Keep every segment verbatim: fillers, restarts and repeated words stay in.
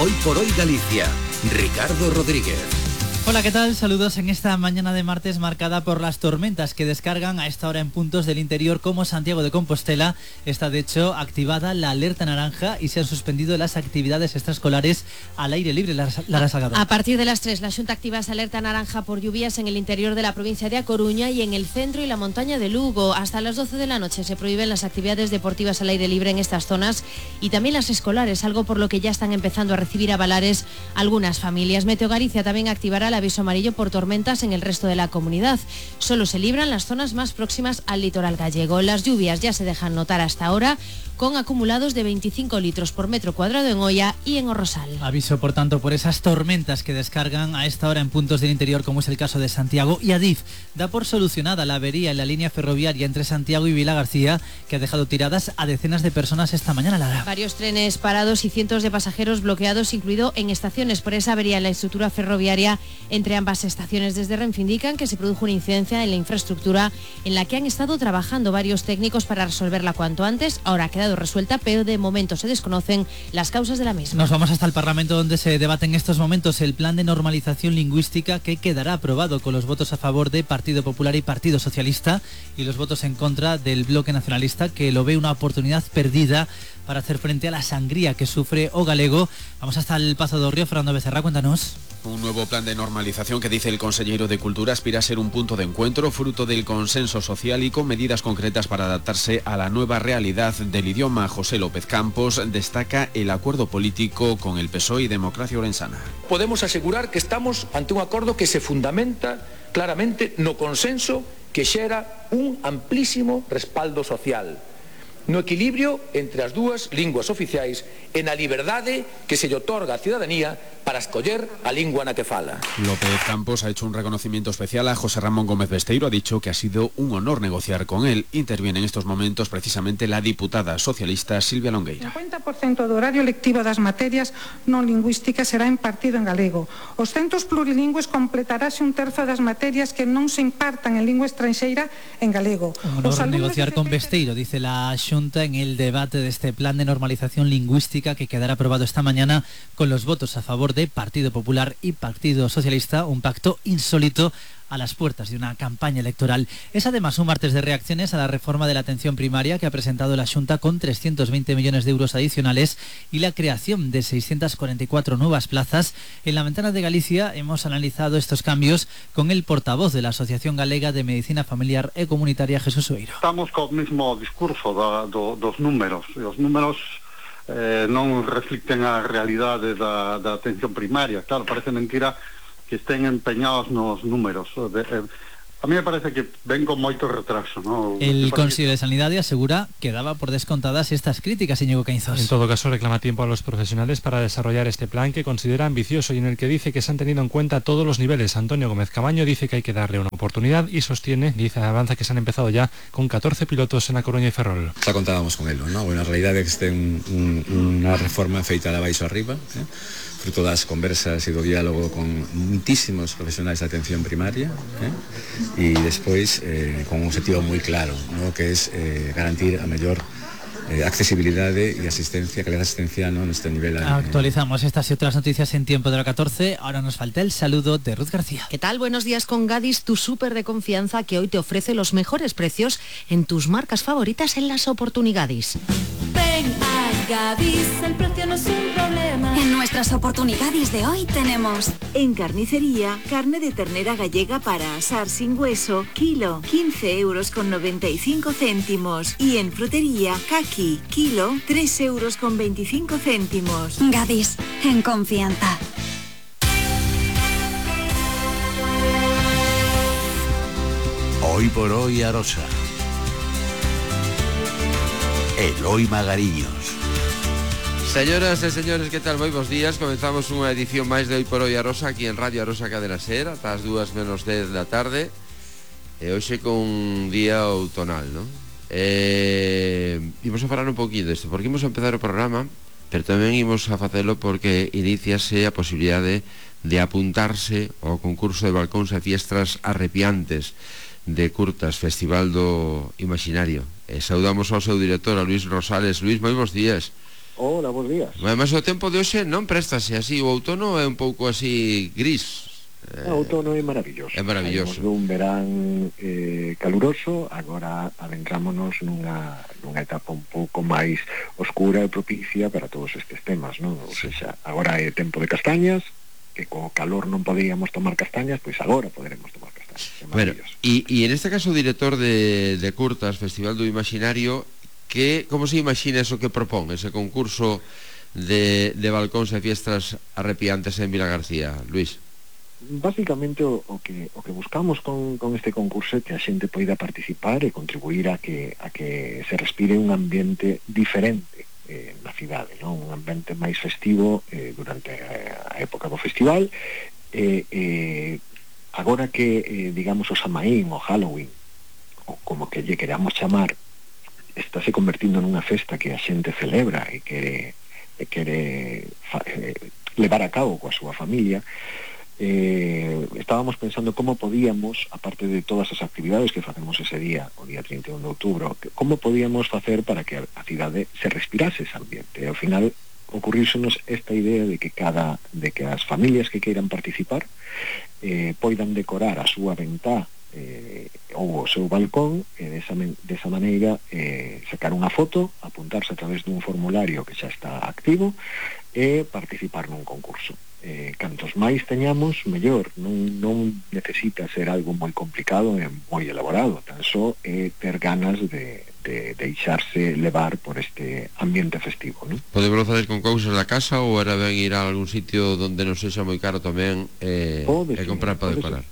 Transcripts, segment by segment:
Hoy por hoy Galicia, Ricardo Rodríguez. Hola, ¿qué tal? Saludos en esta mañana de martes marcada por las tormentas que descargan a esta hora en puntos del interior como Santiago de Compostela. Está de hecho activada la alerta naranja y se han suspendido las actividades extraescolares al aire libre. Lara Salgado. A partir de las tres, la Xunta activa esa alerta naranja por lluvias en el interior de la provincia de A Coruña y en el centro y la montaña de Lugo. Hasta las doce de la noche se prohíben las actividades deportivas al aire libre en estas zonas y también las escolares, algo por lo que ya están empezando a recibir avalares algunas familias. Meteo Galicia también activará la aviso amarillo por tormentas en el resto de la comunidad. Solo se libran las zonas más próximas al litoral gallego. Las lluvias ya se dejan notar hasta ahora, con acumulados de veinticinco litros por metro cuadrado en Oia y en Orrosal. Aviso, por tanto, por esas tormentas que descargan a esta hora en puntos del interior, como es el caso de Santiago. Y Adif da por solucionada la avería en la línea ferroviaria entre Santiago y Vilagarcía, que ha dejado tiradas a decenas de personas esta mañana, Lara. Varios trenes parados y cientos de pasajeros bloqueados, incluido en estaciones por esa avería en la estructura ferroviaria entre ambas estaciones. Desde Renfe indican que se produjo una incidencia en la infraestructura en la que han estado trabajando varios técnicos para resolverla cuanto antes. Ahora ha quedado resuelta, pero de momento se desconocen las causas de la misma. Nos vamos hasta el Parlamento, donde se debate en estos momentos el plan de normalización lingüística, que quedará aprobado con los votos a favor de Partido Popular y Partido Socialista y los votos en contra del Bloque Nacionalista, que lo ve una oportunidad perdida para hacer frente a la sangría que sufre o galego. Vamos hasta el Pazo do Río. Fernando Becerra, cuéntanos. Un nuevo plan de normalización que, dice el consejero de Cultura, aspira a ser un punto de encuentro, fruto del consenso social y con medidas concretas para adaptarse a la nueva realidad del idioma. José López Campos destaca el acuerdo político con el P S O E y Democracia Orensana. Podemos asegurar que estamos ante un acordo que se fundamenta claramente no consenso que xera un amplísimo respaldo social, no equilibrio entre as dúas linguas oficiais e na liberdade que se lle otorga á ciudadanía para escoller a lingua na que fala. López Campos ha hecho un reconocimiento especial a José Ramón Gómez Besteiro. Ha dicho que ha sido un honor negociar con él. Interviene en estos momentos precisamente la diputada socialista Silvia Longueira. cincuenta por ciento do horario lectivo das materias non lingüísticas será impartido en galego. Os centros plurilingües completarase un terzo das materias que non se impartan en lingua estranxeira en galego. Un honor negociar con Besteiro, dice la Xunta en el debate de este plan de normalización lingüística, que quedará aprobado esta mañana con los votos a favor de Partido Popular y Partido Socialista, un pacto insólito a las puertas de una campaña electoral. Es además un martes de reacciones a la reforma de la atención primaria que ha presentado la Xunta, con trescientos veinte millones de euros adicionales y la creación de seiscientas cuarenta y cuatro nuevas plazas. En la Ventana de Galicia hemos analizado estos cambios con el portavoz de la Asociación Galega de Medicina Familiar e Comunitaria, Jesús Oeiro. Estamos co mismo discurso da, do, dos números. Os números eh, non reflicten a realidade da, da atención primaria. Claro, parece mentira que estén empeñados nos números. A mí me parece que ven con moito retraso, ¿no? El Consello de Sanidade asegura que daba por descontadas estas críticas, Íñigo Caínzos. En todo caso, reclama tiempo a los profesionales para desarrollar este plan, que considera ambicioso y en el que dice que se han tenido en cuenta todos los niveles. Antonio Gómez Camaño dice que hay que darle una oportunidad y sostiene, dice, avanza que se han empezado ya con catorce pilotos en A Coruña y Ferrol. Xa contábamos con él, ¿no? Bueno, a realidade é que este un, un, unha reforma feita de abaixo arriba, eh? fruto das conversas e do diálogo con muitísimos profesionais de atención primaria, eh? e despois eh, con un objetivo moi claro, ¿no? que es eh, garantir a mellor eh, accesibilidade e asistencia, calidad de asistencia, ¿no? neste nivel. Eh, Actualizamos estas y otras noticias en tiempo de la catorce. Ahora nos falta el saludo de Ruth García. ¿Qué tal? Buenos días con Gadis, tu súper de confianza, que hoy te ofrece los mejores precios en tus marcas favoritas en las oportunidades. Ven a Gadis, el precio no es un problema. En nuestras oportunidades de hoy tenemos: en carnicería, carne de ternera gallega para asar sin hueso, kilo, quince euros con noventa y cinco céntimos. Y en frutería, caqui, kilo, tres euros con veinticinco céntimos. Gadis, en confianza. Hoy por hoy Arosa. Eloi Magariños. Señoras e señores, que tal? Moi bons días. Comenzamos unha edición máis de Hoy por Hoy Arosa aquí en Radio Arosa Cadena Ser ata as dúas menos dez da tarde. E hoxe con un día outonal, non? Eh, imos a falar un poquinho disto, porque imos a empezar o programa, pero tamén imos a facelo porque iniciase a posibilidade de apuntarse ao concurso de balcóns e fiestras arrepiantes de curtas, Festival do Imaginario. E saudamos ao seu director, a Luís Rosales. Luís, moi bons días. Hola, bons días. Además o tempo de hoxe non préstase así, o outono é un pouco así gris. O outono é maravilloso. É maravilloso. Saímos dun verán eh, caluroso, agora adentrámonos nunha, nunha etapa un pouco máis oscura e propicia para todos estes temas, non? Ou seja, agora é tempo de castañas, que co calor non podíamos tomar castañas, pois agora poderemos tomar castañas. Bueno, e, e en este caso o director de, de Curtas, Festival do Imaginario, que, como se imagina eso que propón, ese concurso de, de balcóns e fiestas arrepiantes en Vilagarcía, Luís? Básicamente o, o, que, o que buscamos con, con este concurso é que a xente poida participar e contribuir a que, a que se respire un ambiente diferente eh, na cidade, non? Un ambiente máis festivo eh, durante a, a época do festival. Eh, eh, agora que, eh, digamos, o Samaín, o Halloween, ou como que lle queramos chamar, está se convertindo nunha festa que a xente celebra e quere, e quere fa, eh, levar a cabo coa súa familia. Eh, estábamos pensando como podíamos, aparte de todas as actividades que facemos ese día, o día trinta e un de outubro, como podíamos facer para que a cidade se respirase ese ambiente. E ao final ocurrísenos esta idea de que cada de que as familias que queiran participar eh, poidan decorar a súa ventá eh, ou o seu balcón e desa, desa maneira eh, sacar unha foto, apuntarse a través dun formulario que xa está activo e participar nun concurso. Eh, cantos máis teñamos, mellor. Non, non necesita ser algo moi complicado e moi elaborado, tan só é ter ganas de, de deixarse levar por este ambiente festivo, non? Podemos facer con cousas da casa ou era ben ir a algún sitio onde non sexa moi caro tamén eh, e comprar para decorar?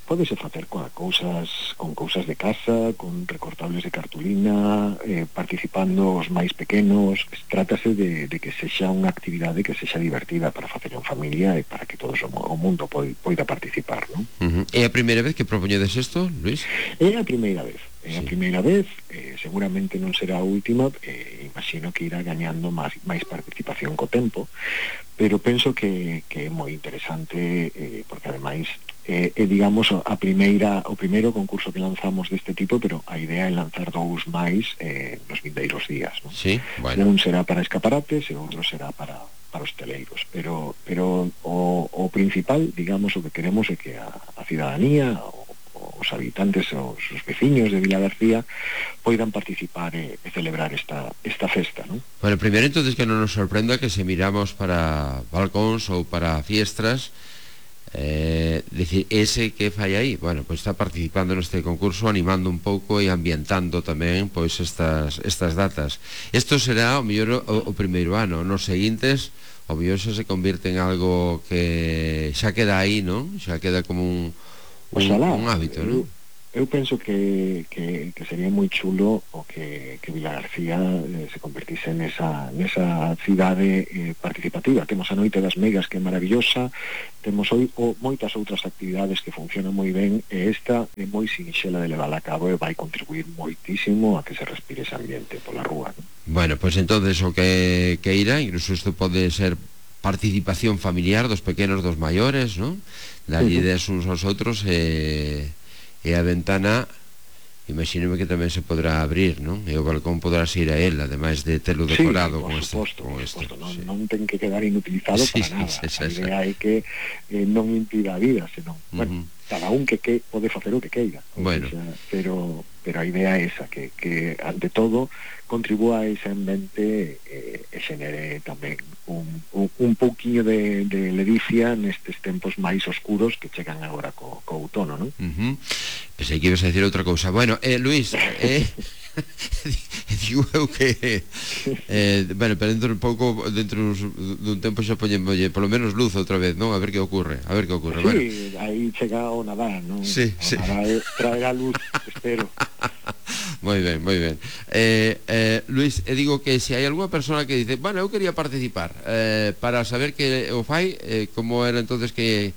Pódese facer coa cousas, con cousas de casa, con recortables de cartulina, eh, participando os máis pequenos. Trátase de, de que sexa unha actividade que sexa divertida para facer en familia e para que todo o mundo poida participar, non? Uh-huh. É a primeira vez que propoñedes isto, Luís? É a primeira vez. É a primeira vez, eh, seguramente non será a última, eh, imagino que irá gañando máis, máis participación co tempo, pero penso que, que é moi interesante, eh, porque ademais é, eh, digamos, a primeira, o primeiro concurso que lanzamos deste tipo, pero a idea é lanzar dous máis eh, nos vindeiros días, non? Sí, bueno. Un será para escaparates e outro será para, para hosteleiros, pero, pero o, o principal, digamos, o que queremos é que a, a cidadanía, o os habitantes, os, os veciños de Vilagarcía poidan participar e, e celebrar esta, esta festa, non? Bueno, primeiro entonces que non nos sorprenda que se miramos para balcóns ou para fiestras, eh, decir, ese que fai aí, bueno, pois está participando neste concurso, animando un pouco e ambientando tamén pois estas, estas datas. Isto será o mellor o, o primeiro ano, nos seguintes o mellor xa se convierte en algo que xa queda aí, non? Xa queda como un Oxalá, un, un hábito, eu, non? eu penso que, que, que sería moi chulo o que, que Vilagarcía eh, se convertise nesa, nesa cidade eh, participativa. Temos a Noite das Megas, que é maravillosa, temos oi, o, moitas outras actividades que funcionan moi ben, e esta é moi sinxela de levar a cabo e vai contribuir moitísimo a que se respire ese ambiente pola rúa, non? Bueno, pois pues entonces o que, que irá, incluso isto pode ser participación familiar dos pequenos, dos maiores, non? Dar uh-huh. ideas uns aos outros e, e a ventana imagíneme que tamén se podrá abrir, non? E o balcón podrás ir a él, ademais de telo decorado sí, con este, suposto, con este. Non, sí. non ten que quedar inutilizado sí, para nada. Sí, sí, a idea é que eh, non impida a vida, senón, uh-huh. bueno, cada un que, que pode facer o que queira. Bueno. Sea, pero, pero a idea é esa, que, que ante todo contribúa a ese ambiente eh, e xenere tamén un, un, un pouquiño de, de ledicia nestes tempos máis oscuros que chegan agora co, co outono, non? Uh-huh. Pensei que ibas a decir outra cousa. Bueno, eh, Luís, eh, digo eu que eh, bueno, pero dentro un pouco dentro dun tempo xa poñemos polo menos luz outra vez, non? A ver que ocurre, a ver que ocurre. Sí, bueno. aí chega o Nadal, non? Sí, o sí. Nadal traerá luz, espero. Moi ben, moi ben. Eh, eh, Luís, e digo que se hai algunha persona que dice, bueno, eu quería participar, eh, para saber que o fai, eh, como era entonces que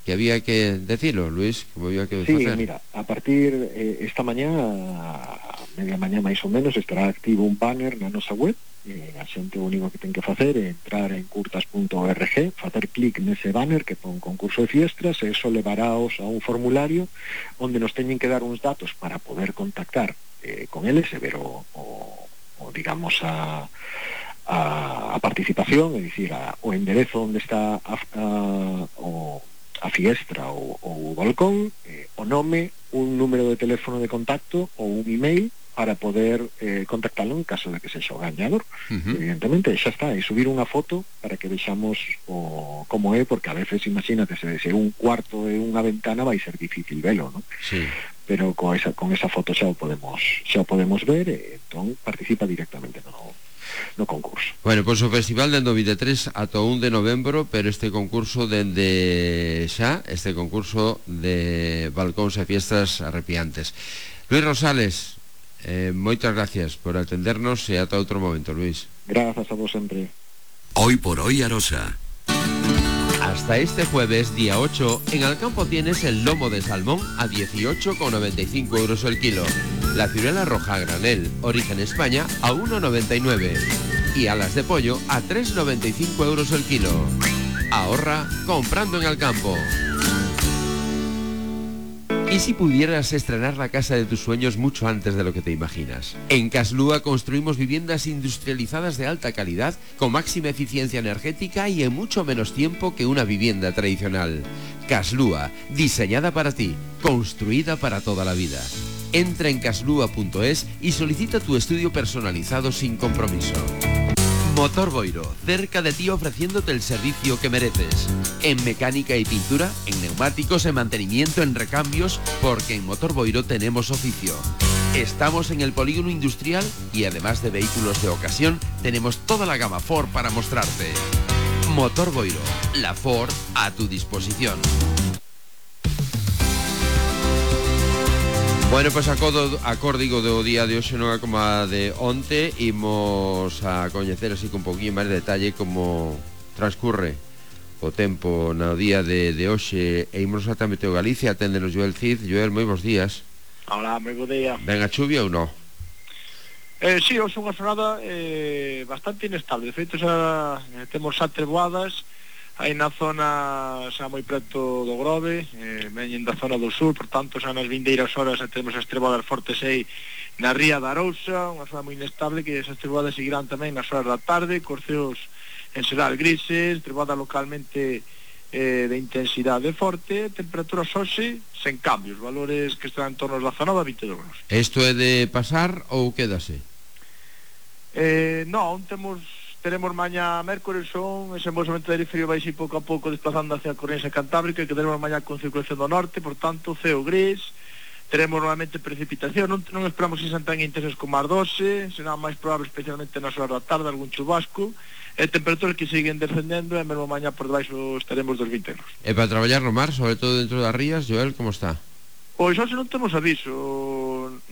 que había que decirlo, Luís, como había que sí, facer. Sí, mira, a partir eh, esta mañá, a media mañá máis ou menos, estará activo un banner na nosa web. Eh, a xente o único que ten que facer é entrar en curtas punto org, facer clic nese banner que pon concurso de fiestras, e eso levaráos a un formulario onde nos teñen que dar uns datos para poder contactar eh, con eles e ver o, o, o digamos a a, a participación, é dicir, a, o enderezo onde está a, a, o, a fiestra ou o balcón, eh, o nome, un número de teléfono de contacto ou un email para poder eh, contactalo en caso de que sexa o gañador. Uh-huh. Evidentemente, xa está, e subir unha foto para que vexamos o, como é, porque a veces, imagínate, se, se un cuarto e unha ventana vai ser difícil velo, ¿no? Sí. Pero con esa, con esa foto xa o podemos xa o podemos ver, e entón participa directamente no, no concurso. Bueno, pois pues o festival dende o veintitrés ata o un de novembro, pero este concurso dende xa, este concurso de balcóns e fiestas arrepiantes. Luis Rosales, Eh, moitas gracias por atendernos e ata outro momento, Luis. Grazas a vos sempre. Hoy por hoy Arosa. Hasta este jueves, día ocho, en Alcampo tienes el lomo de salmón a dieciocho con noventa y cinco euros el kilo, la ciruela roja a granel, origen España, a uno con noventa y nueve y alas de pollo a tres con noventa y cinco euros el kilo. Ahorra comprando en Alcampo. ¿Y si pudieras estrenar la casa de tus sueños mucho antes de lo que te imaginas? En Caslúa construimos viviendas industrializadas de alta calidad, con máxima eficiencia energética y en mucho menos tiempo que una vivienda tradicional. Caslúa, diseñada para ti, construida para toda la vida. Entra en caslúa punto es y solicita tu estudio personalizado sin compromiso. Motor Boiro, cerca de ti ofreciéndote el servicio que mereces. En mecánica y pintura, en neumáticos, en mantenimiento, en recambios, porque en Motor Boiro tenemos oficio. Estamos en el polígono industrial y además de vehículos de ocasión, tenemos toda la gama Ford para mostrarte. Motor Boiro, la Ford a tu disposición. Bueno, pois pues acodo, acórdigo do día de hoxe non é como a de onte. Imos a coñecer así con un poquinho máis de detalle como transcurre o tempo no día de, de hoxe. E imos ata Meteo Galicia, aténdenos Joel Cid. Joel, moi bons días. Hola, moi bo día. Ben a chuvia ou non? Eh, si, sí, hoxe unha jornada eh, bastante inestable. De feito, xa eh, temos xa treboadas aí na zona xa moi preto do Grove, eh, veñen da zona do sur, por tanto xa nas vindeiras horas xa temos as treboadas fortes aí na ría da Arousa, unha zona moi inestable que esas treboadas seguirán tamén nas horas da tarde, cos ceos en xeral grises, treboada localmente eh, de intensidade forte, temperaturas hoxe sen cambios, valores que están en torno aos dezanove a vinte graus. Isto é de pasar ou quédase? Eh, non, temos teremos mañá mércores son ese movimento de aire frío vai ir pouco a pouco desplazando hacia a corrente cantábrica, que teremos mañá con circulación do norte, por tanto ceo gris, teremos normalmente precipitación, non, non esperamos que sean tan intensos como as doce, será máis probable especialmente nas horas da tarde algún chubasco, e temperaturas que siguen descendendo e mesmo mañá por debaixo estaremos dos vinte graus. E para traballar no mar, sobre todo dentro das rías, Joel, como está? Pois hoxe non temos aviso,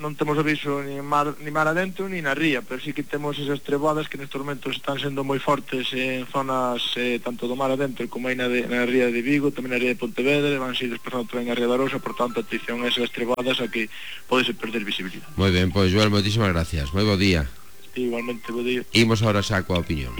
non temos aviso ni mar, ni mar adentro ni na ría, pero sí que temos esas treboadas que nestes momentos están sendo moi fortes en zonas eh, tanto do mar adentro como aí na, de, na ría de Vigo, tamén na ría de Pontevedra, van seguir desplazando tamén a ría da Arousa, por tanto atención a esas treboadas a que podese perder visibilidade. Moi ben, pois Joel, moitísimas gracias, moi bo día. Sí, igualmente, bo día. Imos ahora xa coa opinión.